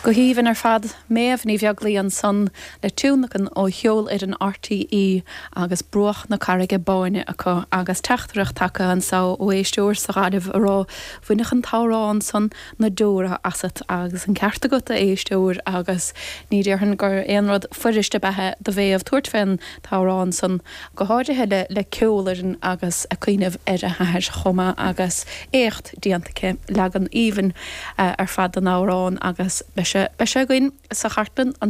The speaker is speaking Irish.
Go haoibhinn ar fad. Méabh Ní Bheaglaoi ansan le tionlacan ó cheolfhoireann RTÉ agus Bruach na Carraige Báine acu agus teachtaireacht tagtha anso ó éisteoir sa Ghaillimh a rá bhainfeadh an t-amhrán san na deora asat agus an ceart agat a éisteoir agus ní déarfainn gur aon rud fuirist ab ea do Mhéabh tabhairt fén t-amhrán san go háirithe le le ceolfhoireann agus a cuimhneamh ar a hathair chomh maith agus éacht déanta aici, leagan aoibhinn ar fad den amhrán agus beidh sé beidh sé againn sa chartlann an.